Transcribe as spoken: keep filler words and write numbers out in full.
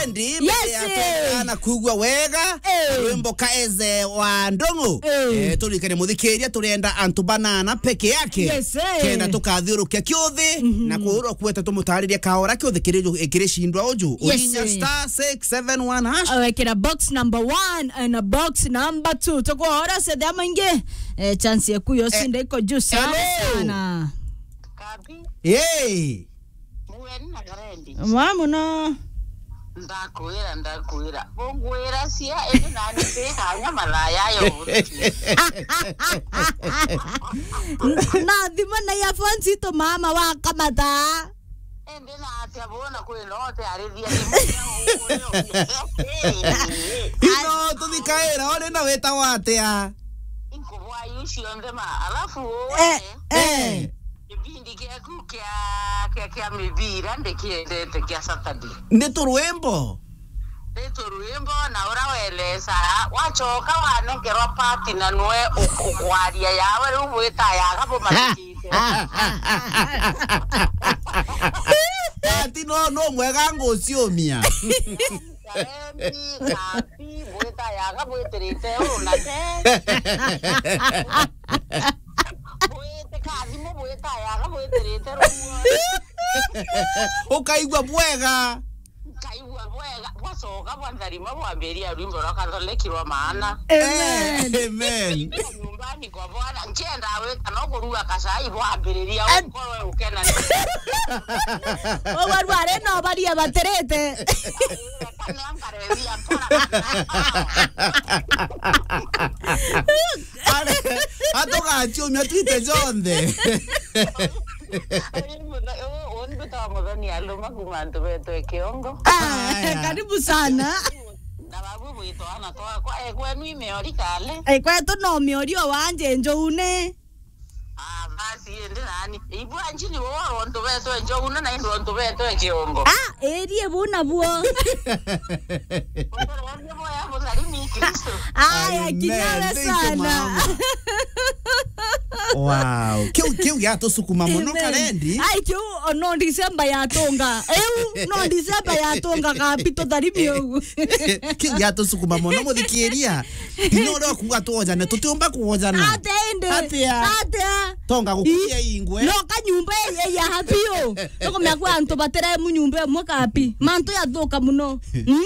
Ndi, yes, mbere ya eh. Twenda na kugua wega, eh. Rwimbo kaeze wa ndongo. Eh. Eh, turikane muthikiria, turenda antu banana peke yake. Yes, eh. Kenda tukathiurukia kiuthi, mhm, na kuurwa kweta tumutariria kaora kiuthi kiri ju-, kiri cindwa uju. Yes, urinya eh. Star six seven one hash. Awekera box number one and box number two. Tukuhora sethe amaingi. Eh, chance yaku yo eh. Sinde iko juu sana, hello. Sana. Kabi. Hey. Mueni na Karendi. Mwa muno. Ndakwira, ndakwira. Bungwira cia, indi nani ndi kanya malaya yo. Na thimo na ya phone cito mama wa kamata. Indi na atia bona kwi no te arithia ni. Ino tuthikaira, uri na wita wa atia? Inkubwa iu cionthe ma, alafu eh, we, eh. Gibindi giaku kia, kia, kia mibira ndikiendete kia Saturday. Ni turwimbo? Ni turwimbo, na ura welesa, wacoka wanengerwa pati na nwe uk-, ukwaria yawe, riu bwita yaga bumatikite. Pati no, no mwega nguciumia. Karendi, Kabi, bwita yaga bwitirite uu na te. Bwite kathimu bwita yaga bwitirite ruo. Ukaigua bwega. Nkaigua bwega, bwacoka bwantharima bwambiria rwimbo rwa Kathoreki rwa maana. Amen. Eh, amen. Nyumbani kwa Bwana, nkienda wita no kuruga kacai bwambiriria ukorwe ukena. Uguo rwari no baria batirite. Kana nkarethia mpora. Are, atugaciumia twite jonthe. Uyu mutho-, u-, u ndu ta muthoni aluma kuma antu betwe Kiongo. Ah, aya. Karibu sana. Na babu bwitwa ana twakwa, e, kwenu imeori kale? E, kwetu no miori o wanje njoune. Ah, basi, ende nani. Ibwa njini bo antu betwe njoune na indu antu betwe Kiongo. Ah, erie bu nabuo. Utorwani boya butharimi Kristo. Aya, amen. Kinyawe. Thank you, sana mama. Wow. Kiu, kiu giatusukuma muno, amen. Karendi. Ai, kiu, o, no December yatunga. Eu, no December yatunga kabi tutharimi ugu. Kiu giatusukuma muno, muthikiria. Ino rio kuga twojane, tutiumba kwojana. Atia indi? Atia? Atia? Tonga gukuria ingwe. No kanyumba ya, ya happy yo. Tukumenya kwa antu bateremu nyumba imwe kabi. Mantu yathuka muno. Mm.